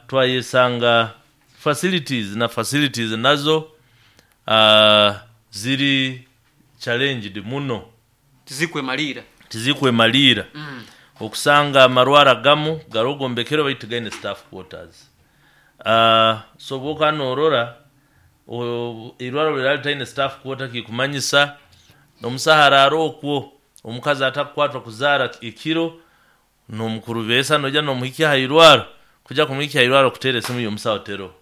Twayesanga facilities na facilities nazo ziri challenged muno. Tizikwemaliira. Tizikwemaliira. Okusanga amarwaro agamu garoho gombekere baitu tigaine staff quarters. So obwokuba norora eirwaro obu riraba ritaine staff quarter kikumanyisa omusaho araara okwo, omukazi atakukwatwa kuzaara ekiro, n'omukurubeesa noija n'omuhikya aha irwaro, kuja kumuhikya aha irwaro okuteera esimu y'omusaho teroho.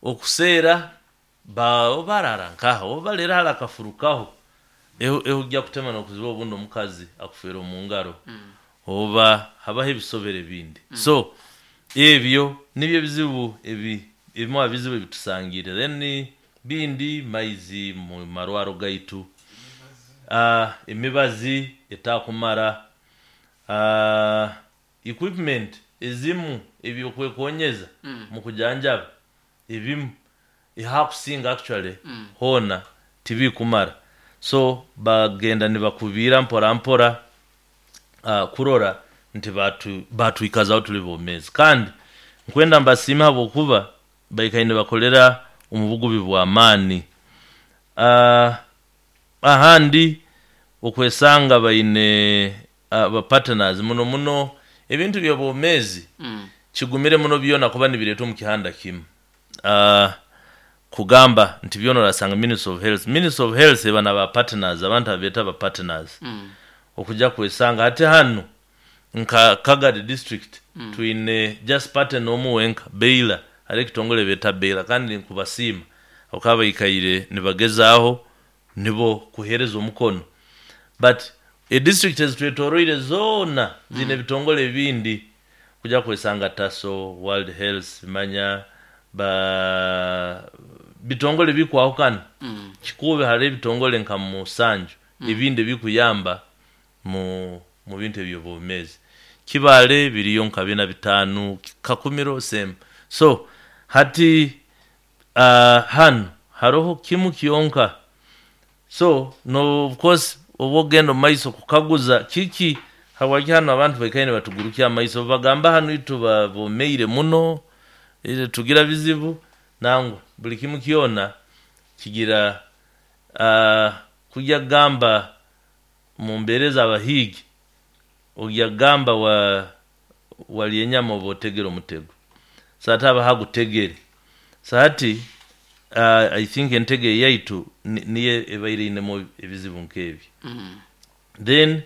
Okuseera oba araara nkaha, oba baleero hali akafurukaho, ehugya kutema n'okuzibu obundi omukazi akufeera omu ngaro oba habaho ebisobere ebindi. So ebyo nibyo ebizibu ebi ebimu ha bizibu ebitusangire. Then bindi maizi mu marwaro gaitu, emibazi etakumara, equipment ezimu eby'okwekonyeza mu kujanjaba ebimu hakusinga actually hoona tibikumara so bagenda nibakubiira mpora mpora kurora nti baatwikazaho tuli boomeezi. Kandi nkwenda mbasiime habwokuba baikaire nibakolera omu bugubi bw'amaani. Ahandi okwesanga baine ba partners muno muno ebintu by'obwomeezi kigumire muno byona kuba nibireetwa omu kihanda kimu. Kugamba nti byona orasanga Ministry of Health. Ministry of Health eba na ba partners, abantu abu beeta ba partners okuja kwesanga hati hanu nka Kagadi district twine just partner omu wenka Baylor, hariho ekitongore beeta Baylor kandi nkubasiima habwokuba baikaire nibagezaaho nibo kuheereza omukono but edistrict ezitwetoroire zoona ziine ebitongore ebindi kuja kwesanga Taso, World Health, manya ba bitongore bikwahukana. Kikuube hariho ebitongore nka musanju ebindi ebikuyamba mu mu bintu eby'obwomeezi. Kibaale biriyo nka bina bitaanu, Kakumiro same. So hati hanu haroho kimu kyonka. So no of course obu okugenda omu maiso kukaguza kiki habwaki hanu abantu baikaire nibatugurukya amaiso bagamba hanu itwe bomeire muno, tugira bizibu, nangwa buli kimu kyona kigira kugya kugamba mu mbeera ez'abahiigi, ogya kugamba walya enyama oba otegere omutego. So hati habaho agutegere. So hati I think entego eyaitu niyo ebaire einemu ebizibu nk'ebyo. Then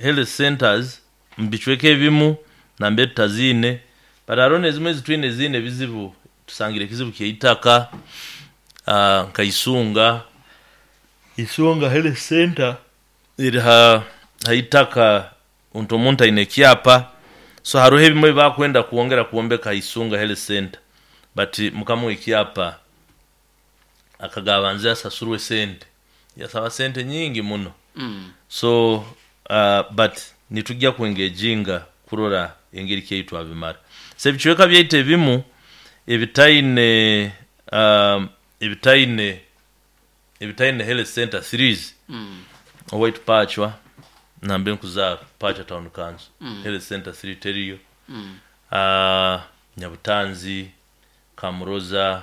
health centers mu bicweka ebimu nambere tutaziine but haroho n'ezimwe ezitwine eziine ebizibu, tusangire ekizibu ky'eitaka nka Isunga, Isunga Health Centre eri ha itaka nti omuntu aine ekyapa so haroho ebimwe ebi bakwenda kwongera kwombeka ha Isunga Health Centre but mukama w'ekyapa akagaba abanze asasurwe sente, yasaba sente nyingi muno so but nitugya ku engaginga kurora engeri ki ei twabimara. So ebicweka byaitu ebimu ebitaine ebitaine ebitaine health centre threes owaitu Pacwa nambere nkuzaarwa Pacwa town council health centre three teriyo, Nyabutanzi, Kamuroza,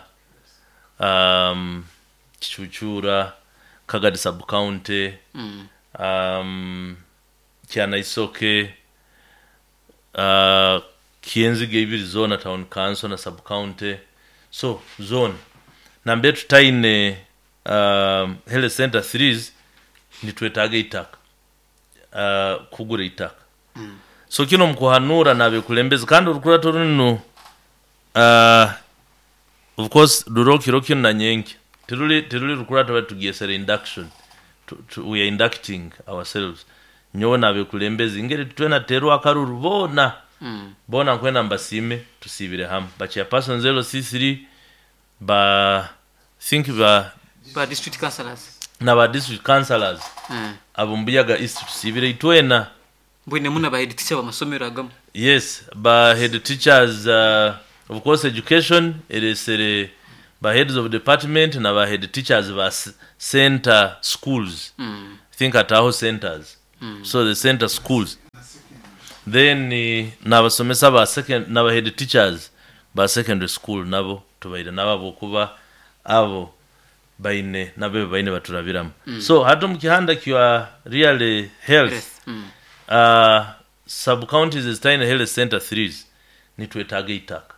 Kicucuura, Kagadi sub county, Kyanaisoke, Kyenzige ibiri zoona town council na sub county so zoona nambere tutaine health centre threes nitwetaaga eitaka kugura eitaka. So kinu omu kuhanuura n'abekulembezi kandi orukurato runu of course ruroho kiro kinu na nyenkya tiruri tiruri rukurato baitu tugyesere induction we are inducting ourselves nyowe n'abekulembezi ngeri twena tuteerwe akaruru boona boona nkwenda mbasiime tusiibire hamu ba chairpersons LC3 ba think ba Ba district councillors. Na ba district councillors ab'omu Buyaga East tusiibire itwena. Mbwenu na ba head teacher b'amasomero agamu. Yes, ba head teachers of course education eresere ba heads of department na ba head teachers ba center schools, I think ataaho centers, so the center schools. Then n'abasomesa ba second n'aba head teachers ba secondary school nabo tubaire nabo habwokuba abo baine nabo ebi baine baturabiramu. So hati omu kihanda kya really health, Health. Sub counties ezitaine health center threes nitwetaaga eitaka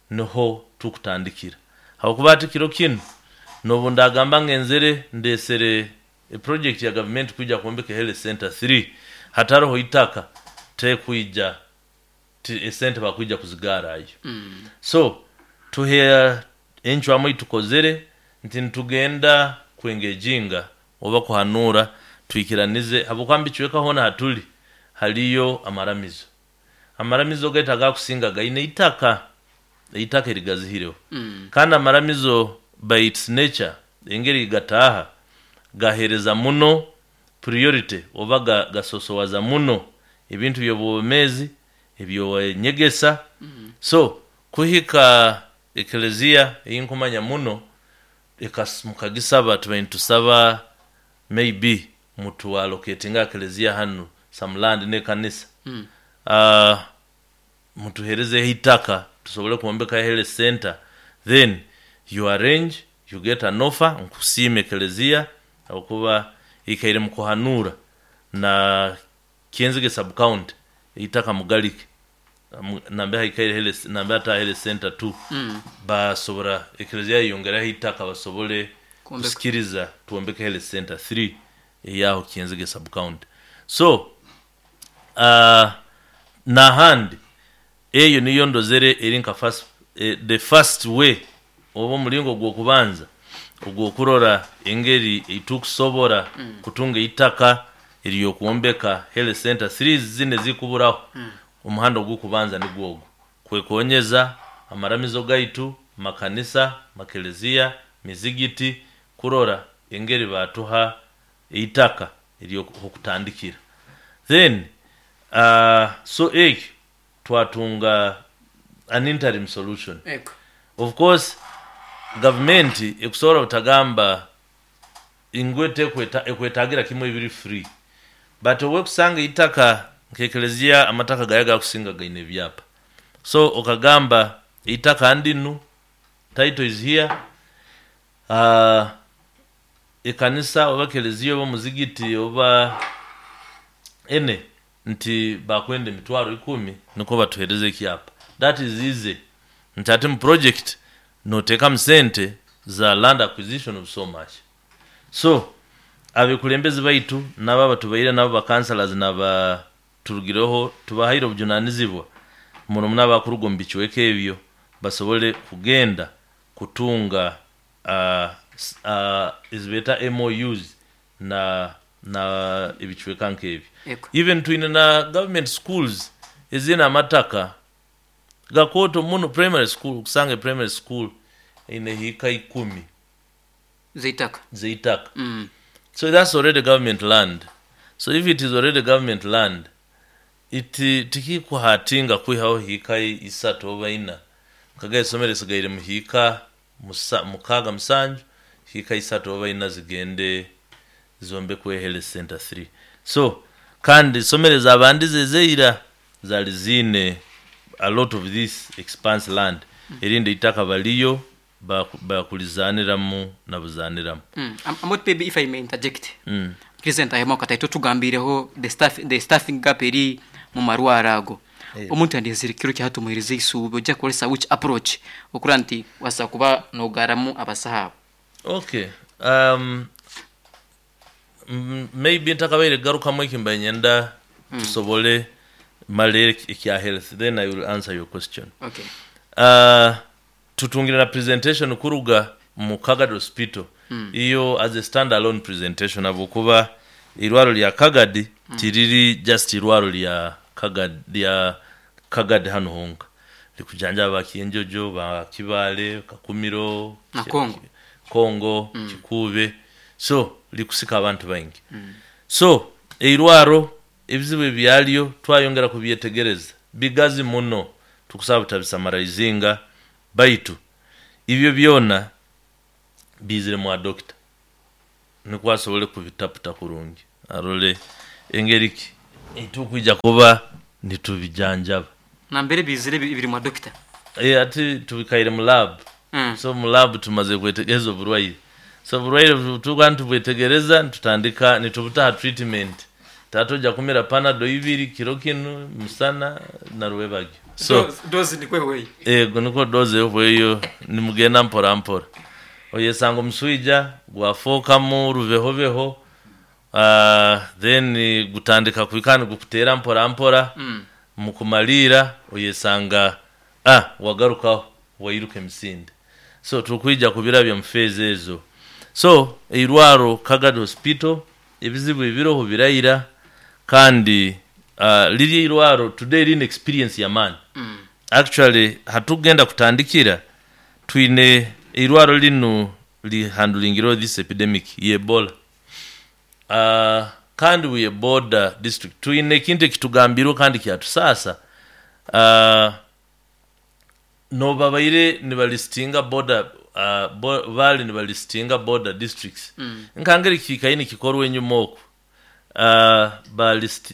niho tukutandikira habwokuba hati kiro kinu n'obu ndagamba ngenzere ndesere eproject ya gavumenti kwija kwombeka health center 3 hataroho itaka tekwija esente bakwija kuzigarayo. So tuhe encwamu eitukozere nti nitugenda kwengejinga oba kuhanura twikiranize habwokuba mbicweka hoona hatuli haliyo amaramizo. Amaramizo gaitu agakusinga gaine itaka, eitaka erigazihireho. Kandi amaramizo by its nature engeri gataaha gahereza muno priority oba gasosowaza muno ebintu by'obwomeezi eby'enyegesa. So kuhika ekelezia eyinkumanya muno mukagisaba tubaire nitusaba maybe mutuallocatinge kelezia hanu some land n'ekanisa. Mutuheerezeho eitaka tusobole kwombeka health center, then you arrange, you get an offer. Nkusiima ekelezia habwokuba ikaire mukuhanuura na Kyenzige sub county eitaka mugalike nambere haikaire health, nambere hataaha health center 2. Basobora ekelezia yayongeraho eitaka basobole Kwombeka. kusikiriza twombeke health center 3 eyaho Kyenzige sub county. So n'ahandi eyo niyo ndozere eri nka first, the first way oba omulingo gw'okubanza ogw'okurora engeri eitukusobora kutunga eitaka ery'okwombeka health center 3 zinu ezikuburaho. Omuhanda ogw'okubanza nigwo ogu kwekonyeza amaramizo gaitu, makanisa, makelezia, mizigiti, kurora engeri batuha eitaka ery'okutandikira. Then so ekyo twatunga an interim solution. Ego. Of course gavumenti ekusobora butagamba ngu ekwetagira kimwe ebiri free, but owekusanga eitaka nk'ekelezia amataka gayo gakusinga gaine ebyapa, so okagamba eitaka ndinu, title is here, ekanisa oba kelezia oba muzigiti oba ene nti bakwenda emitwaro 10 nikwo batuhereze ekyapa. That is easy, nti ati mu project noteekamu sente za land acquisition of so much. So abekulembezi baitu nabo abatubaire nabo bakansalas naba turugireho tubahaire obujunanizibwa muno muno abakuruga omu bicweka ebyo basobole kugenda kutunga ezibeeta MOUs na ebicweka nk'ebyo. Ego. Even twine na government schools ezine amataka gakooto muno, primary school kusanga primary school eine hiika 10 zeitaka. Zeitaka. So that's already government land. So if it is already government land, it tikikuhatinga kwihaho hiika 3 oba 4 kaga esomero esigaire mu hiika 6 7 hiika 3 oba 4 zigende zombekwe health center 3. So kandi isomero zabandize ezeira zali zine a lot of this expanse land, erindi itaka baliyo bakulizaniramu nabuzaniramu. Amot, maybe if I may interject. President ahema kataito tugambireho the staffing gap eri mu marwara ago. Omuntu andizire kiro kyahatumuhiriza isuube ojja kukolesa which approach okura nti wasa kuba nogaramu abasaha? Okay, maybe ntakabaire garukamu ekimba nyenda tusobole male ekya health, then I will answer your question. Okay. Tutungire na presentation kuruga mu Kagadi Hospital. Iyo as a stand alone presentation habwokuba irwaro lya Kagadi tiriri just irwaro lya Kagadi, lya Kagadi hano honka likujanjaba ba Kienjojo, ba Kibale, Kakumiro na Kongo. Kongo, Kikube, so likusika abantu baingi. So eirwaro ebizibu ebyalyo twayongera kubyetegereza, bigazi muno, tukusaba butabisamaraizinga, baitu ibyo byona bizire mwa dokita nikwo asobole kubitaputa kurungi arole engeri ki etukwija kuba. Nitubijanjaba. Nambere bizire biri mwa dokita. Ati tubikaire mu lab. So mu lab tumaze kwetegereza oburwaire. So oburwaire tuba nitubwetegereza, nitutandika nitubutaha treatment. Tata ojja kumira panado ibiri kiro kinu, musana na rwebagyo. So dozi nikwe weyi. Ego niko doze ehweyo, nimugenda mpora mpora. Oyesanga omuswija gwafookamu rubehobeho, then gutandika kwika nigukuteera mpora mpora. Mukumaliira oyesanga wagarukaho wairuka emisinde. So tukwija kubirabya mu phase ezo. So eirwaro Kagadi Hospital ebizibu ebiroho birayira, kandi liri eirwaro today rine experience y'amaani. Actually hatugenda kutandikira twine eirwaro linu lihandlingireo this epidemic ye Ebola. Kandi we border district twine ekintu ekitugambirwe kandi kyatusasa. Nobabaire nibalistinga border, bali nibalistinga border districts. Nkangeri kikaini kikorwe enyuma oku.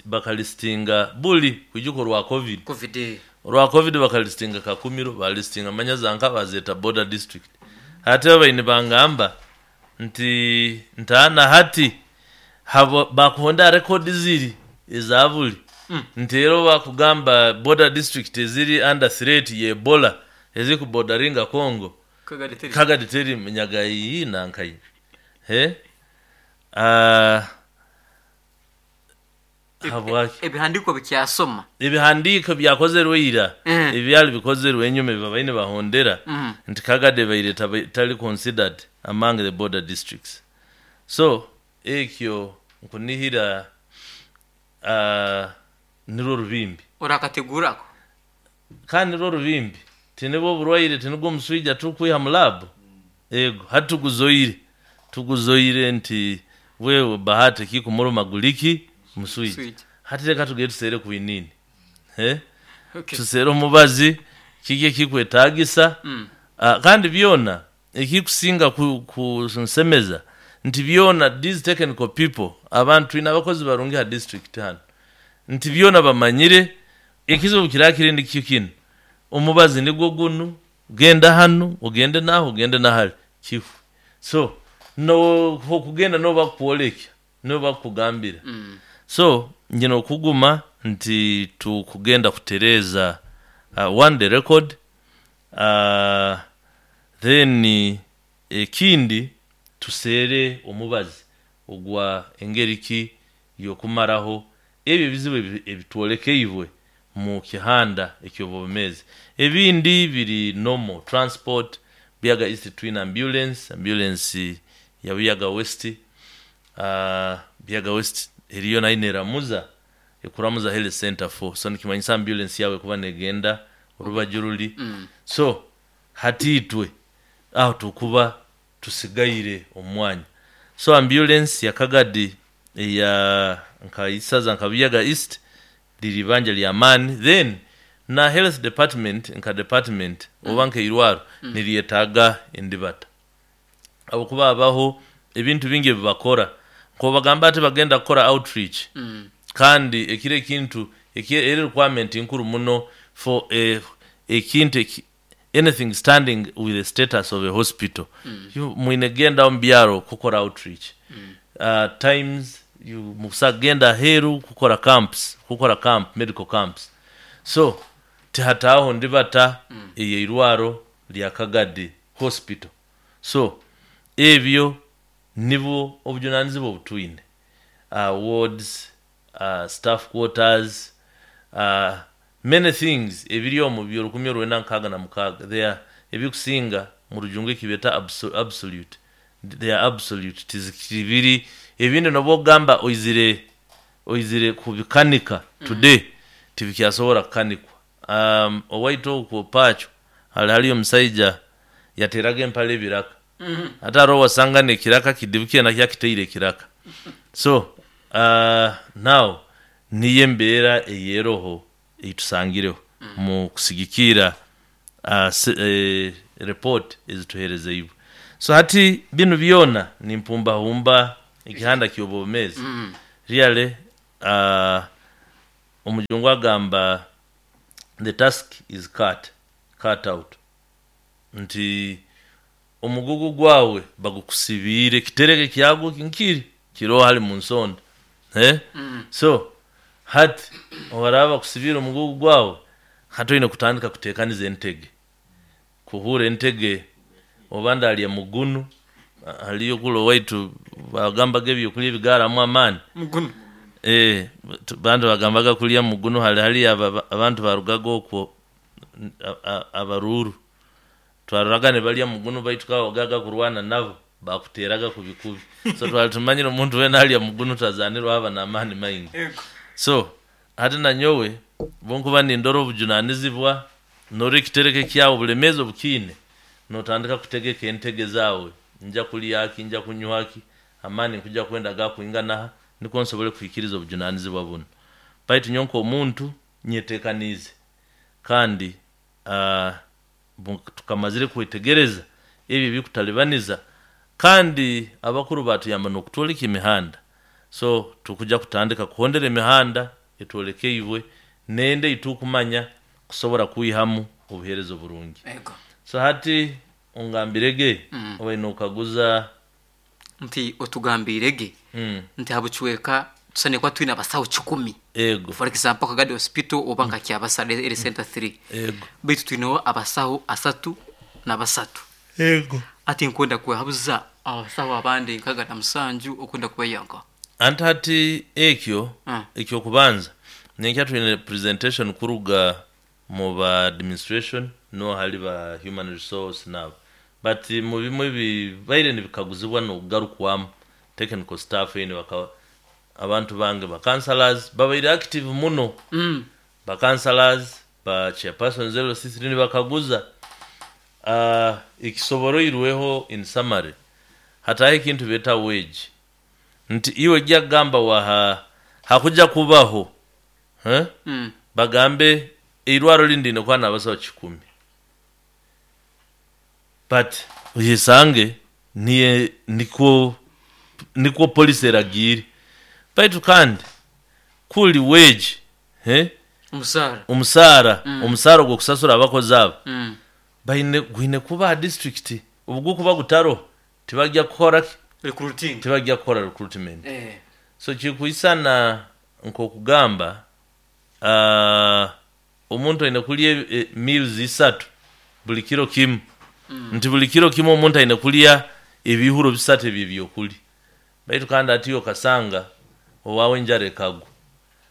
Bakalistinga buli kwijuko rwa COVID. COVID. Rwa COVID bakalistinga Kakumiro, balistinga Manyazanka, bazeta border district. Hati abaine bangamba nti ntaana hati habo bakuhonda record ziri ezabuli. Nti rero bakugamba border district eziri under threat ye Ebola eziri ku borderinga Congo. Kagadi teri. Kagadi teri Nyagayi na Nkayi. He? Habwaki? Ebihandiko bikyasoma. Ebihandiko byakozerwe ira. Ebyali bikozerwe enyuma babaine bahondera. Nti Kagadi baire tali considered among the border districts. So ekyo nkunihira nirwo rubimbi. Orakategurako. Kandi nirwo rubimbi. Tinibwo oburwaire, tinibwo omuswija tukwiha mu lab. Ego hatuguzoire. Tuguzoire nti wewe bahati kikumuruma guliki muswija. Swija. Hati reka tugende tusere kuinini. He? Okay. Tusere omubazi kike kikwetagisa. Kandi byona ekikusinga ku nsemeza nti byona these technical people, abantu ina abakozi barungi ha district hano, nti byona bamanyire ekizibu kirakiri nikyo kino. Omubazi nigwo gunu, genda hano ogende naho ogende nahali kifu. So no okugenda no bakwolekya no bakugambira. So nyina okuguma nti tukugenda kutereza one the record, then ekindi tusere omubazi ogwa engeri ki yokumaraho ebyo ebizibu ebitwolekeibwe mu kihanda eky'obwomezi. Ebindi biri normal transport. Buyaga East twin ambulance, ambulance ya Buyaga West, Buyaga West eriyo nayo neramuza ekuramuza health center 4. So nikimanyisa ambulance yawe kuba negenda orubaju ruli. So hatitwe aho tukuba tusigaire omwanya. So ambulance ya Kagadi ya nka Isaza nka Buyaga East liri banja lya mani. Then na health department nka department oba nka irwaro niriyetaga endibata, abakuba abaho ebintu bingi ebibakora nko bagamba ati bagenda kukora outreach. Kandi ekiro ekintu eri requirement nkuru muno for ekintu anything standing with the status of a hospital. You mwine genda mu byaro kukora outreach. Times you musagenda heru kukora camps, kukora camp, medical camps. So tihataho ndibata eye irwaro lya Kagadi Hospital. So ebyo nibwo obujunanizibwa obutwine. Wards, staff quarters, many things ebiri omu byo 1966 they are ebikusinga mu rujungu ekibeta absolute. They are absolute, tizikibiri ebindi nobwo gamba oizire kubikanika today tibikyasobola kukanikwa. Owaito okwo pacho hali haliyo omusaija yateraga empale ebiraka. Ate hariho wasanga nekiraka kidibukiye nakyo akiteire ekiraka. So now niyo embeera eyeroho eitusangireho mu kusigikira report ezituherezeibwe. So hati binu byona nimpumbahumba ekihanda ky'obwomezi. Really, Omujungu agamba the task is cut out, nti omugugu gwawe bagukusibiire kitereke kyagwo nkiri kiroho hali mu nsonda, eh? So hati obaraba bakusibiire omugugu gwawe, hati oine kutandika kuteekaniza entege, kuhuura entege oba ndalya mugunu. Haliyo kula owaitu bagambaga ebyokulya ebigaramu amaani. Mugunu. Bantu bagambaga kulya mugunu, hali hali abantu barugaga okwo abaruuru twaroraga nibalya mugunu, baitu kawagaga kurwana nabo bakuteraga kubi kubi. So twali tumanyire omuntu wena alya mugunu tazanirwa aba n'amaani maingi. So hati nanyowe bunkuba nindora obujunanizibwa nora ekitereke kyawe obulemezi obukiine, notandika kutegeka entege zawe, nja kulyaki, nja kunywaki, amaani nkuja kwenda gakwinganaha nikwo nsobole kuhikiriza obujunanizibwa buno. Baitu nyowe nk'omuntu nyetekaniize, kandi tukamazire kwetegereza ebi ebikutalibaniza, kandi abakuru batuyamba n'okutwoleka emihanda. So tukuja kutandika kuhondera emihanda etwolekeibwe nende itukumanya kusobora kwihamu obuheereza oburungi. So hati ongambirege obaine okaguza Nti otugambirege nti habucweka tusane kuba twine abasaho 100. Ego. For example, Kagadi Hospital oba nka Kyabasara eri center 3. Ego. Baitu twineho abasaho 33. Ego. Ati nkwenda kwehabuza abasaho abandi 67 okwenda kubayanka. Anti hati ekyo ekyokubanza nenkya twine presentation kuruga mu ba administration no hali ba human resource nabo, but mu bimwe bibaire nibikaguzibwa n'okugarukwamu technical staff ene baka abantu bange ba councillors babaire active muno. Ba councillors, ba chairpersons LC3 nibakaguza ekisoboroirweho. In summary, hataho ekintu beta wage, nti iwe jja kugamba waha hakuja kubaho, eh? Bagambe eirwaro lindi kuba n'abasaho 100, but oyesange niye nikwo policy eragiire. Baitu kandi kuli wage, eh? Omusaara. Omusaara. Omusaara ogw'okusasura abakozi abo baine gwine kuba ha district. Obu gukuba gutaroho tibajya kukora ki? Recruiting. Tibajya kukora recruitment. So kikwisana nk'okugamba omuntu aine kulya meals 3 buli kiro kimu, nti buli kiro kimu omuntu aine kulya ebihuro 3 ebyo ebyokulya. Baitu kandi ati okasanga owawe enjara ekagwa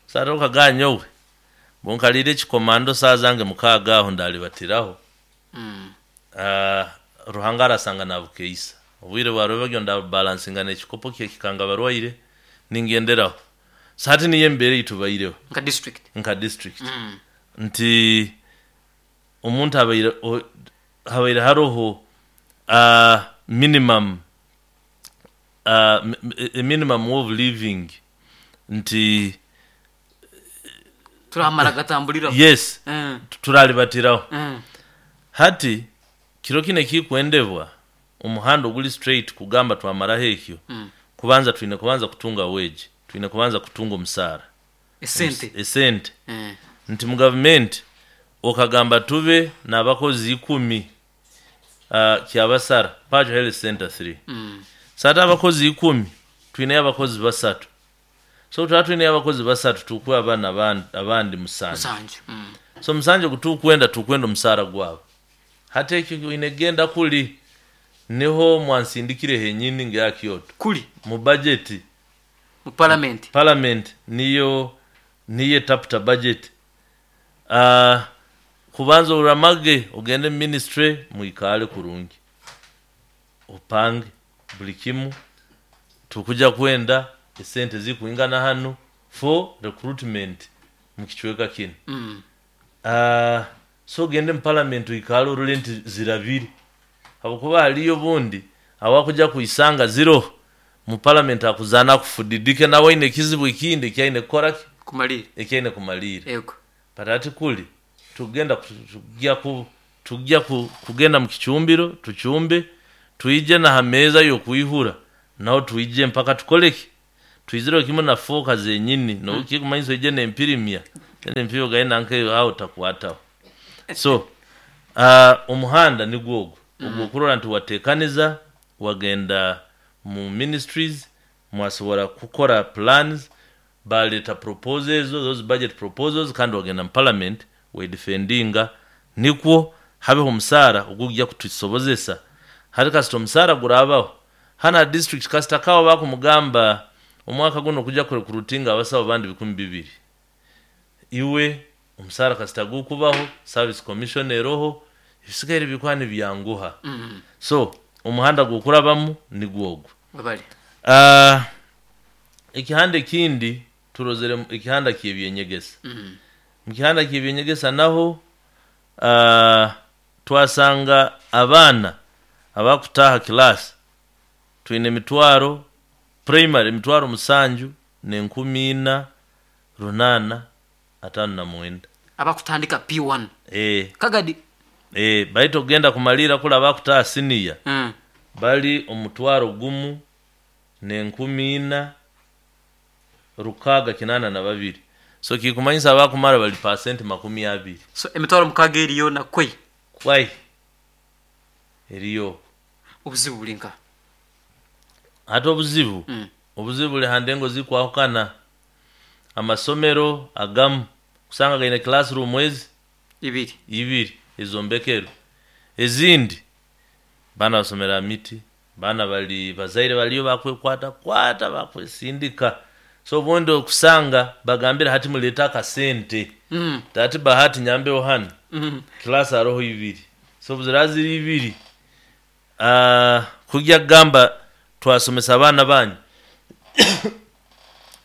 sara okagaa nyowe bunkalire ekikomando saa zange 6 aho ndalibatiraho. Ruhanga arasanga nabukeisa obwire bwarwebagyo ndabalansinga n'ekikopo kyekikanga barwaire ningenderaho. So hati niyo embeera eitubaireho nka district. Nka district. Nti omuntu abaire habaire haroho minimum minimum of living, nti turamara gatambuliraho. Yes. Turalibatiraho. Hati kiro kino ekikwendebwa omuhanda oguli straight kugamba twamaraho ekyo, kubanza twine kubanza kutunga wage, twine kubanza kutunga omusaara. Esente. Esente. Nti mu gavumenti okagamba tube n'abakozi 10 Kyabasara Pacho Health Center 3. Sata abakozi 10, twineyo abakozi 3. So tuba twineyo abakozi 3, tukuwe abaana abandi 7. 7. So 7 gutukwenda tukwenda omusaara gwabo. Hati ekyo oine genda kuli niho mwansindikire henyini nga Kyoto. Kuli mu budget. Mu parliament. Parliament niyo etaputa budget. Kubanza oramage ogende mu ministry mwikale kurungi opange buli kimu, tukuja kwenda esente zikuingana hano for recruitment mu kicweka kino. So ogende mu parliament oikale orole nti zirabire, habwokuba haliyo bundi awakuja kuisanga ziro mu parliament akuzana akufudidike nawe aine ekizibu ekindi ekyaine kukora ki? Kumalira. Ekyaine kumalira. Ego. But ati kuli tugenda tujya kugenda mu kicumbiro tucumbe twije na hameza yokuihura naho twije mpaka tukoleki twizire kimwe na foka zenyini no kikumanyisa ije nempirimya. Empiyo gaina nkeyo aho takwataho. So omuhanda nigwo ogwo ogwokurora nti watekaniza, wagenda mu ministries, mwasobora kukora plans, baleta proposals, those budget proposals, kandi wagenda mu parliament wedefendinga, nikwo habeho omusaara ogujya kutusobozesa. Hari kasita omusaara gurabaho hana district, kasita kawa bakumugamba omwaka guno kujya kurecruitinga abasawo bandi 2000, iwe omusaara kasita gukubaho, service commission eroho, ebisigaire bikuba nibyanguha. So omuhanda gwokurabamu nigwo ogwo. Webale. Ekihanda ekindi turozere ekihanda ky'ebyenyegesa. Mu kihanda ky'ebyenyegesa naho twasanga abaana abakutaha class twine emitwaro primary 7,459. Abakutandika P1. Kagadi. Baitu okugenda kumalira kula abakutaha senior bali 1,682. So kikumanyisa abakumara bali 20%. So 60,000 eriyo na kwei. Kwai eriyo. Obuzibu bulinka. Hata obuzibu. Obuzibu buli handengo zikwahukana. Amasomero agamu kusanga gaine classroom ezi ibiri ezombekero, ezindi bana basomera miti, bana bali bazaire baliyo bakwekwata kwata bakwesindika. So obundi okusanga bagambira hati muleta akasente. Tati bahati nyambeho hano. Class aroho ibiri. So buzira ziri ibiri. Kujya kugamba twasomesa abaana banyu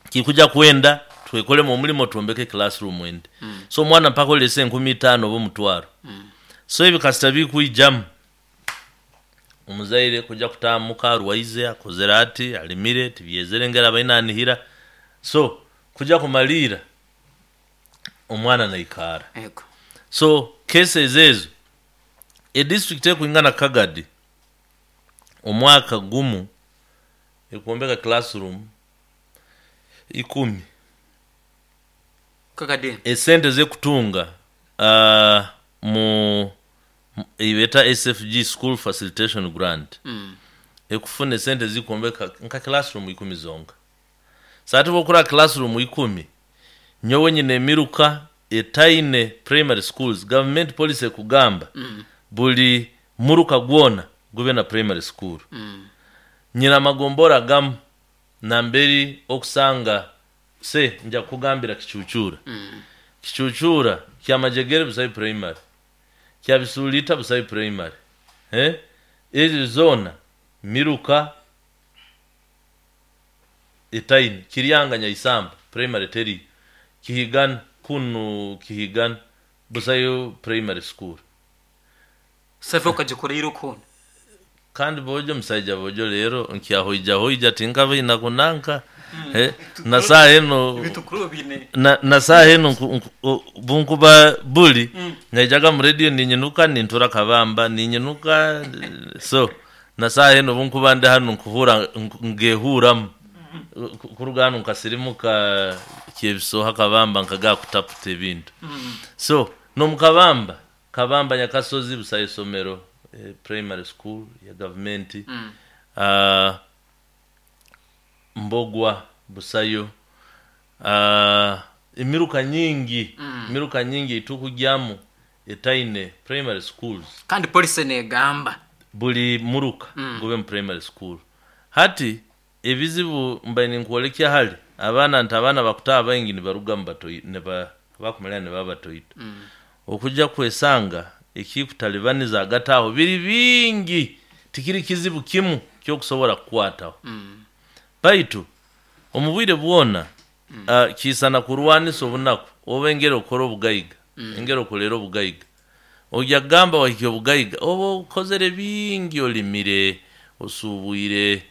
kikuja kwenda twekole mu mulimo tuombeke classroom ende. So omwana mpaka olese 5,000 oba 5,000. So ebi kasita bikwijamu omuzaire kuja kutamuka arwaize akozera ati alimire tibyezere ngera bainanihira. So kuja kumalira omwana naikara. So cases ezo e district ekuingana Kagadi omwaka gumu ekuombeka classroom 10. Kagadi. Esente zekutunga mu ibeta SFG School Facilitation Grant. Ekufuna esente zikuombeka nka classroom 10 zonka. Sati bokura classroom 10 nyowe nyine emiruka etaine primary schools, government policy ekugamba buli muruka gwona gube na primary school. Nyina magombora gamu namberi okusanga se nja kugambira Kichuchura. Kichuchura kya Majegere busayi primary, kya Bisulita busayi primary. Ezi zona miruka etaine Kiryanga Nyaisamba primary teri Kihigan kunu Kihigan busayo primary school. Save ukajikora kona. Kandi bojo musaija bojo lero nkiyahoija hoija tinkava inakunanka. Na saa eno na saa eno bunkuba buli naijaga mu radio ninyinuka nintura Kabamba ninyinuka. So na saa eno bunkuba ndi hano nkuhura ngehuramu kurugano nkasirimuka kyebisoha Kabamba nkaga kutaputa ebintu. So no mukabamba Kabamba Nyakasozi busaye somero primary school ya government. Mbogwa busayo. Emiruka nyingi. Emiruka nyingi itukujyamu etaine primary schools. Kandi police negamba buli muruka gube mu primary school. Hati ebizibu mbaine nkuolekya hali abaana nti abaana bakutaa baingi nibaruga mu batoi ne bakumalira ne babatoito. Okujja kwesanga ekikutalibaniza agataho biri bingi tikiri kizibu kimu kyokusobola kukwataho. Baitu omubwire bwona kisana kurwanisa obunaku oba engeri okora obugayiga, engeri okolera obugayiga. Ojja kugamba wahikya obugayiga oba okozere bingi, olimire, osubwire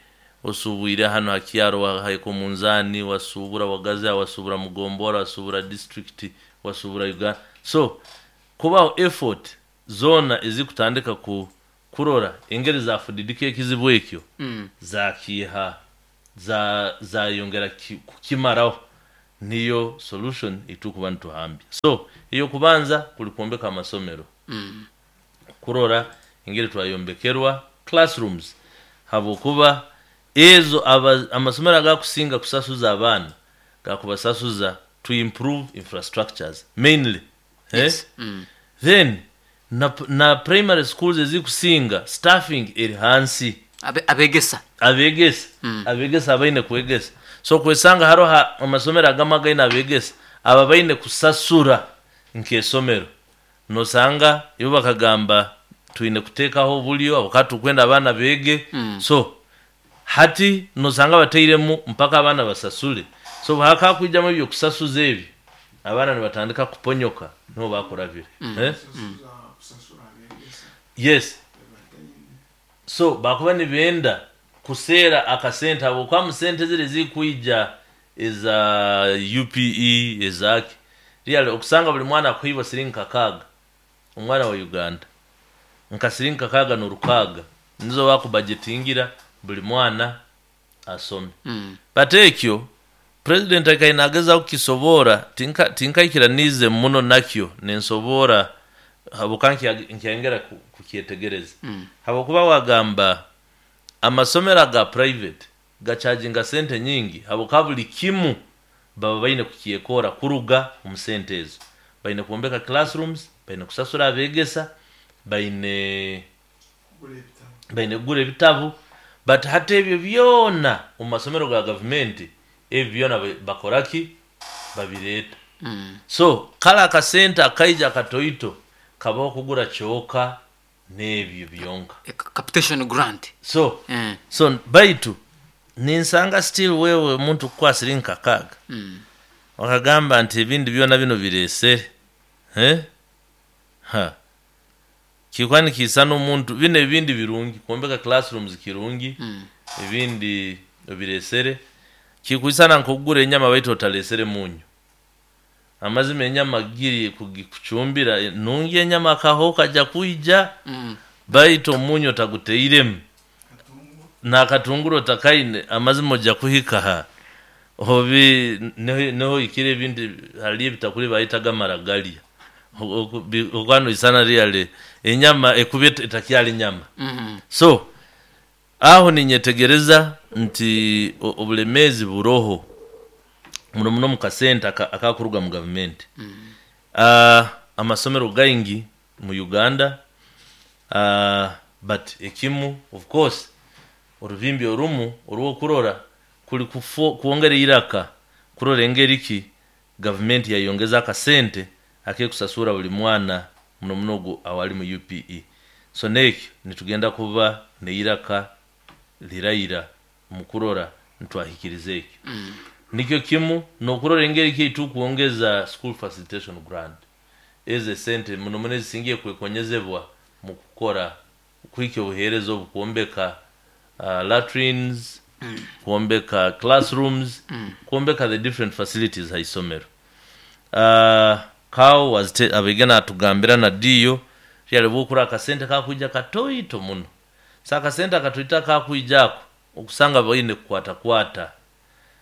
hano hakyaro haiko munzani, wasubura wagaza, wasubura mugombora, wasubura district, wasubura Uganda. So kubaho effort zona ezikutandika ku kurora engeri zafudidike ekizibu ekyo zakiha zayongera kukimaraho. Niyo solution itukuba nituhambya. So eyokubanza kuli kwombeka amasomero, kurora engeri twayombekerwa classrooms, habwokuba ezo amasomero agakusinga kusasuza abaana gakubasasuza to improve infrastructures mainly, eh? Yes. Then na primary schools ezikusinga staffing eri hansi. Abegesa. Abegesa, abegesa abaine kwegesa. So kwesanga haroho amasomero agamu againe abegesa aba baine kusasura nk'esomero, nosanga ibo bakagamba twine kuteekaho obulyo habwokuba tukwenda abaana beege. So hati nosanga batairemu mpaka abaana basasule. So hakakwijamu ebyokusasuza ebyo, abaana nibatandika kuponyoka, niho bakurabire, eh? Yes. So bakuba nibenda kuseera akasente habwokuba mu sente ziri zikwija eza UPE ezaki, really okusanga buli mwana akuhibwa siringi 6, omwana wa Uganda nka siringi 6 n'orukaaga nizo bakubajetingira buli mwana asome. But ekyo president akaina agezaho kukisobora, tinkaikiranize muno nakyo, nensobora habwokuba nkyayongera kukyetegereza. Habwokuba wagamba amasomero aga private gacharginga sente nyingi, habwokuba buli kimu baba baine kukyekora kuruga omu sente ezo. Baine kwombeka classrooms, baine kusasura abegesa, baine kugura ebitabu. But hati ebyo byona omu masomero ga gavumenti ebyo byona bakoraki? Babireeta. So kale akasente akaija akatoito kabaho kugura kyoka n'ebyo byonka. Capitation grant. So so baitu ninsanga still wewe omuntu kukwasira 6 wakagamba nti ebindi byona bino biresere, eh? Ha, kikuba nikiisana omuntu bino ebindi birungi, kwombeka classrooms kirungi, ebindi obiresere kikwisana nk'okugura enyama baitu otalesere munyu. Amazima enyama giri kugikucumbira nungi, enyama akaho kaja kwija, baitu omunyu otaguteiremu n'akatunguru otakaine, amazima ojja kuhika ha obi niho ikire ebindi hali ebitakuli bayitaga maragalya okwano isana really enyama ekuba etakyali nyama. So aho ninyetegereza nti obulemeezi buroho muno muno mu kasente akakuruga mu gavumenti. Amasomero gaingi mu Uganda, but ekimu of course orubimbi orumu orw'okurora kuli kwongera iraka kurora engeri ki gavumenti yayongeza akasente akekusasura buli mwana muno muno ogu awali mu UPE. So nekyo nitugenda kuba neiraka liraira mu kurora ntwahikiriza ekyo. Nikyo kimu n'okurora engeri ki tukwongeza school facilitation grant, ezo esente muno muno ezisingiye kwekonyezebwa mu kukora kuhikya obuheereza obu, kwombeka latrines, kwombeka classrooms, kwombeka the different facilities ha isomero. Kawo abege natugambira na diyo ryali bwokura akasente kakwija katoito muno. Sa akasente akatoito akakwijako okusanga baine kukwata kwata.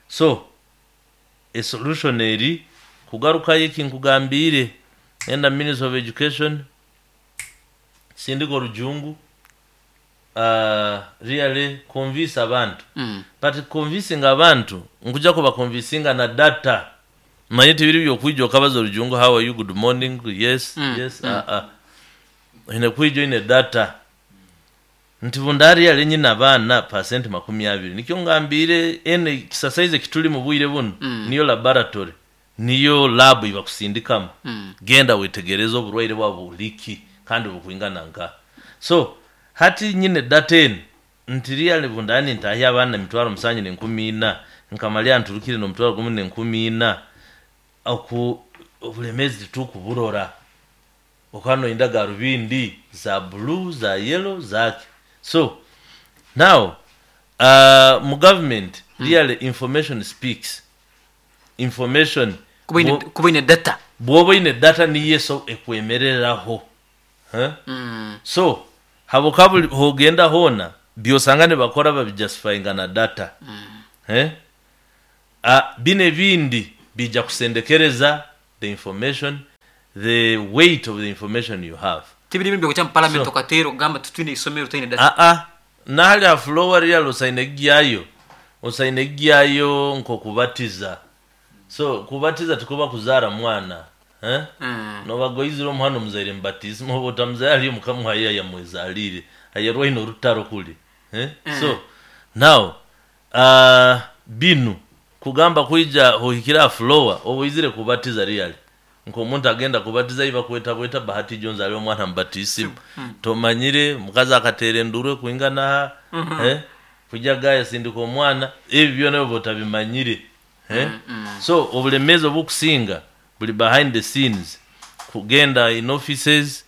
So a solution eri kugarukayo eki nkugambire, enda Ministry of Education sindika orujungu, really convince abantu. But convincing abantu nkuja kuba convincinga na data. Manye tibiri byokwija okabaza orujungu, how are you, good morning, yes, yes, ine kwija ine data nti bundari yali nyina abaana 20%. Nikyo ngambire ene kisasaize kituli mu bwire buno, niyo laboratory, niyo lab ibakusindikamu. Genda wetegereze oburwaire bwabo buliki kandi bukwingana nka. So hati nyine data eno nti really bundani ntahi abaana 704,000 nkamalya nturukire no 1,014 oku obulemezi tukuburora okano indaga rubindi za blue za yellow zake. So now mu government really information speaks. Information kuba data, bwoba ine data niyo so ekwemereraho. So haboka hogenda hona byosanga ne bakora babijustifyinga na data. Bine bindi Bija kusendekereza the information, the weight of the information you have. Tibiri bintu byokujya mu parliament So- okateera okugamba tutwine isomero twine data. Aa, nahali ha floor real osaine gyayo, osaine gyayo nk'okubatiza. So kubatiza tikuba kuzaara mwana, eh? Nobagoizire omwana omuzaire mubatismu, oba otamuzaire aliyo mukamuhayo yamwezalire ayerwaine orutaro kuli, eh? So now binu kugamba kwija ohikire ha floor oba oizire kubatiza really nk'omuntu agenda kubatiza iba kweta bweta Bahati Jones ali omwana mubatisimu, tomanyire mukazi akatera enduru kwingana, eh? Kujja gaya sindika omwana, ebi byona oba otabimanyire, eh? So obulemezi obukusinga buli behind the scenes, kugenda in offices,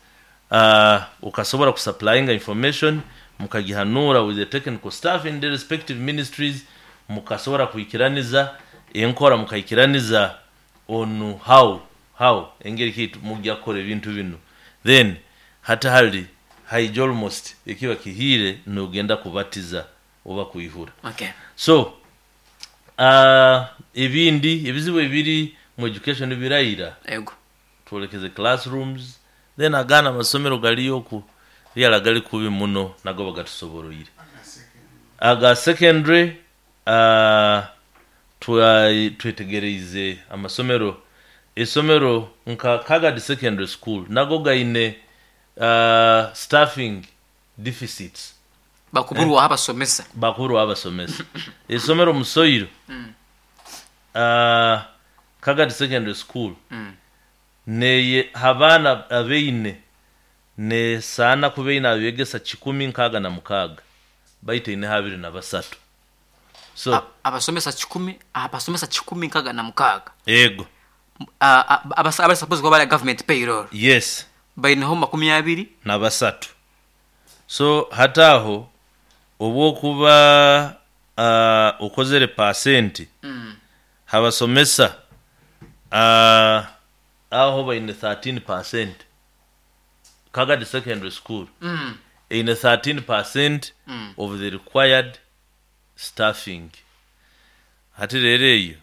ukasobola kusupplyinga information, mukagihanura with the technical staff in the respective ministries, mukasobola kuikiraniza enkora, mukaikiraniza on how engeri ki mujja kukora ebintu bino. Then hata hali haija almost ekiba kihire nogenda kubatiza oba kuihura. So ebindi ebizibu ebiri mu education birayira. Ego. Twolekeze classrooms, then agana amasomero galiyo ku ryala gali kubi muno, nago bagatusoboroire aga secondary. Twetegereize amasomero, esomero nka Kagadi Secondary School nago gaine staffing deficits. Bakuburwaho abasomesa. Bakuru abasomesa esomero Musoiro, Kagadi Secondary School, neye habaana abeine nesaana kubeine abegesa 166, baitu ine 23. So Abasomesa 100, abasomesa 166. Ego. Abali suppose kuba bali government payroll. Yes. Baineho 23. Na 3. So hataho obwokuba okozere pasenti habasomesa, aho baine 13%. Kagadi Secondary School eine 13% of the required staffing. Hati rero eyo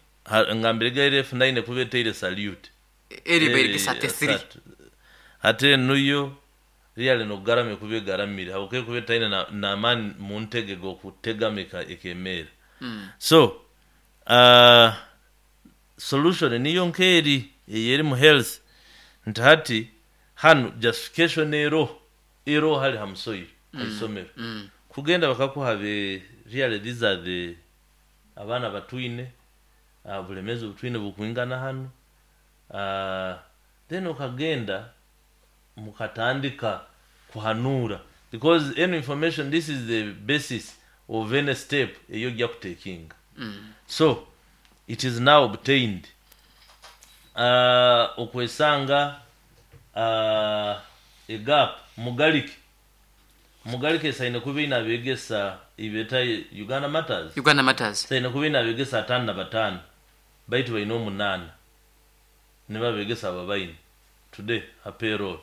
ngambire gaire F9 kuba eteire salute. Eri bairigisa 33. Asatu. Ate nuyo really nogarame kuba egaramire habwokuba kuba etaine n'amaani mu ntege g'okutegamika ekemeera. So solution niyo nkeeri eyeri mu health nti hati hanu justification ero hali hamusoiro haisomero kugenda bakakuha be really these are the abaana batwine, bulemezi butwine bukwingana hanu, then ukagenda mukatandika kuhanura, because any information, this is the basis of any step eyo ojja kutekinga. So it is now obtained, okwesanga egap mugalike mugalike esaine kuba ine abegesa ibeta Uganda Matters. Uganda Matters. Saine kuba ine abegesa 55, baitu baine 8 nibabegesa aba baine today a payroll,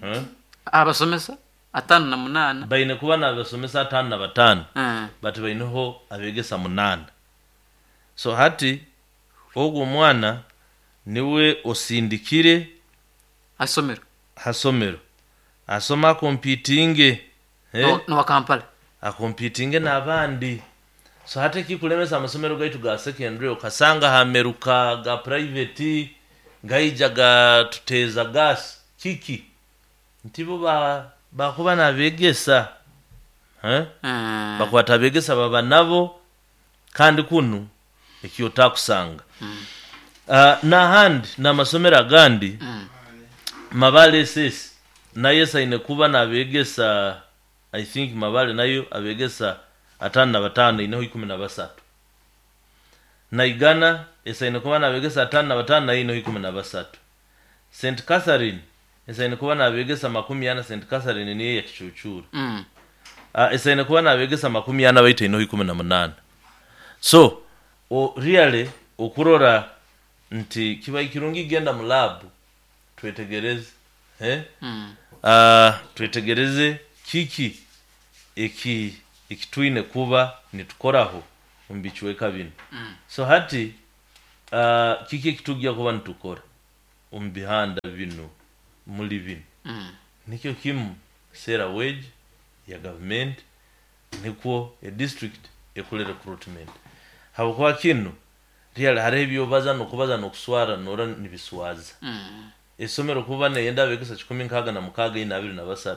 huh? Abasomesa 58. Baine kuba nabasomesa 55, but baineho abegesa 8. So hati ogwo omwana niwe osindikire asomero hasomero asoma akompitinge, eh? Nowa Kampala. Akompitinge n'abandi. So hati ekikulemesa amasomero gaitu ga secondary, okasanga hameruka ga private gaija gatuteeza gas kiki nti bo bakuba nabegesa, eh? Bakwata abegesa baba nabo, kandi kunu ekyo otakusanga. N'ahandi n'amasomero agandi, Mabale SS nayo esaine kuba nabegesa, I think Mabale nayo abegesa 55, ineho 13. Naigana esaine kuba nabegesa 55, nayo ineho 13. St Catherine esaine kuba nabegesa 40. St Catherine niyo yakicucura. Esaine kuba nabegesa 40, baitu ineho 18. So really okurora nti kiba kirungi genda mu lab twetegereze, eh? Twetegereze kiki eki ekitwine kuba nitukoraho omu bicweka bino. So hati Kiki ekitujja kuba nitukora omu bihanda binu, muli binu? Nikyo kimu sera wage ya gavumenti, nikwo edistrict ekole recruitment, habwokuba kinu really hariho ebyobaza nokubaza nokuswara, nora nibiswaza. Esomero kuba neyenda abegesa 166, 423,